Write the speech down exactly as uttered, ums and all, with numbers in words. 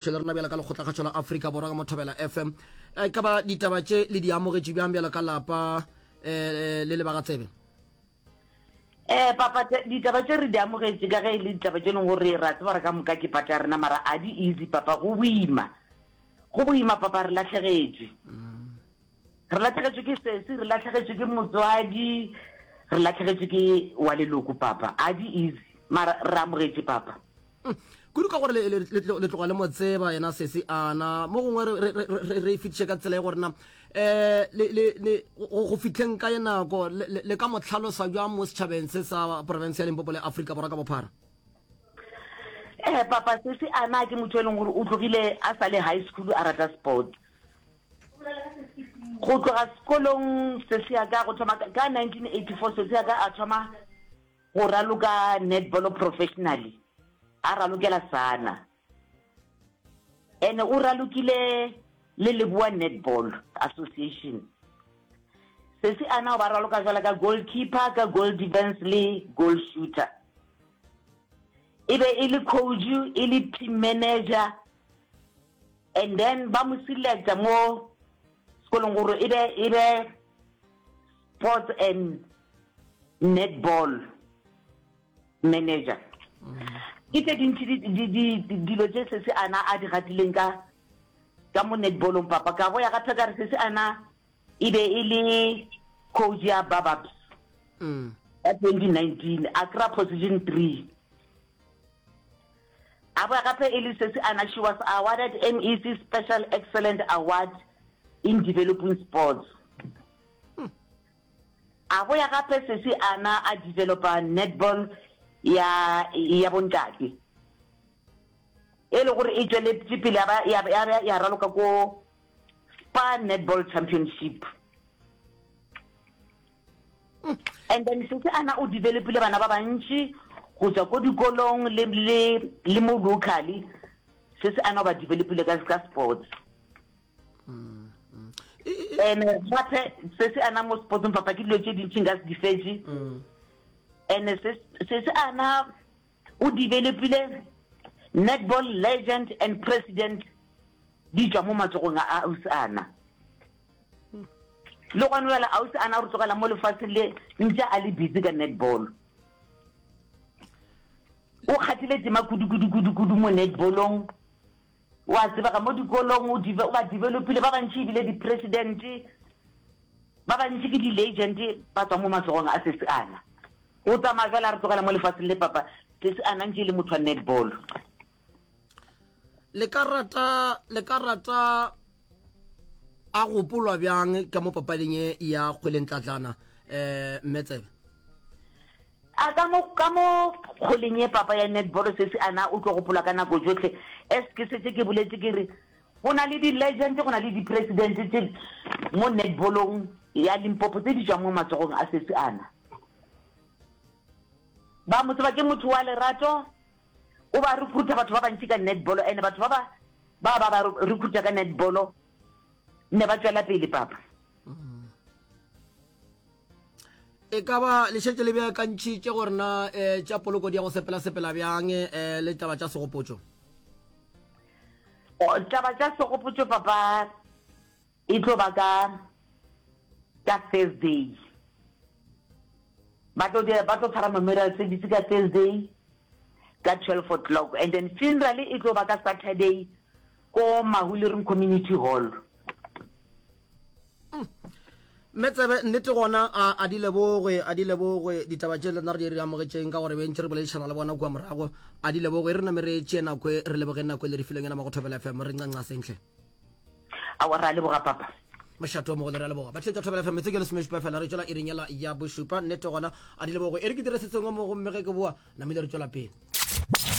Le rena bjalo ka Lekgotlakgašo la Afrika Borwa ka mo Thobela F M. E ka ba ditaba tše le di amogetše bjang bjalo ka lapa um le le ba ga Tsebe? Eh papa, ditaba tše re di amogetše ka ge e le ditaba tše leng gore ra tseba gore ka moka ke part ya rena, mara a di easy papa, go boima. Go boima papa, re lahlegetšwe. Re lahlegetšwe ke sesi, re lahlegetšwe ke motswadi, re lahlegetšwe ke wa leloko papa, a di easy, mara re amogetše papa. Kudu ka gore le, le, le, le tloga le mo tseba yena sesi ana mo gongwe re, re, re, re e fetiše ka tsela e gore na um le, le, le, go, go fihleng ka ye nako le, le, le ka mo hlalosa bjang mo setšhabeng se sa profense ya Limpopo le Afrika Borwa ka bophara? Eh papa, sesi ana ke motho e leng gore o tlogile a sa le high school a rata sport. Go tloga sekolong sesi ya ka go thoma ka nineteen eighty four, sesi ya ka a thoma go raloka netball professionally, a ralokela Sana, ene o ralokile le Leboa Netball Association. Sesi ana o ba raloka jwala ka goalkeeper, ka goal defense le goal shooter. E be e le coach, e le team manager, and then ba mo selecta mo sekolong gore e be e be sports and netball manager. Ke tse dintši dilo tše sesi ana a di gatileng ka ka mo netballong papa. Ka boya gape ka re sesi ana e be e le coach ya Bababs ka twenty nineteen, a kry position three. A boya gape e le sesi ana, she was awarded M E C Special Excellent Award in Developing Sports. A boya gape sesi ana a developa netball ya ya bontate, e le gore e tšweletše pele ya ba ya ya ya raloka ko Spa Netball Championship. And then sesi ana o developile bana ba bantši go tswa ko dikolong le le le mo locally. Sesi ana o ba developile ka ka sports. And gape sesi ana mo sportsong papa, ke dilo tše dintši nka se di fetše. And sesi ana o developile netball legend and president, di tswa mo matsogong a ausi ana. Le gone jale ausi ana re tlogela mo lefatsheng le ntse a le busy ka netball. O kgathile tema kudu kudu kudu kudu mo netballong. Wa tsebega mo dikolong, o ba developile ba bantši, ebile di-president ba bantši ke di-legend ba tswa mo matsogong a sesi ana. O tsamaya jale a re tlogela mo lefatsheng le papa, sesi ana ntse e le motho wa netball. le ka rata le ka rata a gopolwa bjang ka mo papading e ya kgwelentlatlana, um mme Tsebe? A ka mo ka mo kgweleng ye papa ya netball, sesi ana o tlo gopola ka nako tsotlhe. As ke setse ke boletse ke re go na le di-legend, go na le di-president tse mo netballong ya Limpopo tse di tswang mo matsogong a sesi ana. Ba mo tseba ke motho wa lerato, o ba recruita batho ba bantši ka netball, and batho ba ba ba ba ba recruita ka netball ne ba tswela pele papa. E ka ba le šetše le beakantšhitše gore na um tša poloko di ya go sepela-sepela bjang, um le taba tša segopotšo? Taba tša segopotšo papa e tlo ba ka ka Thursday. Ba tlo ba tlo tshwara memorial service ka Thursday ka twelve o'clock, and then funeral e tlo ba ka Saturday ko Mahulering Community Hall. Mme Tsebe, nnete gona a a di lebogwe, a di lebogwe ditaba tše le nna re di re amogetšeng ka gore bentše re boledišana le bona kua morago. A di lebogwe, e re name re tšee nako e, re lebogeng nako e le re fileng yona mo go Thobela F M. Re ncanca sentle. Aowa, re a leboga papa. Mošato o mogolo, re a leboga. Batheetša Thobela F M, metsotso ke lesomešupa fela re tšwela iring yela ya bošupa. Nnete gona a di lebogwe, e re ke dire se sengwe mo gomme ge ke boa namile re tšwela pele.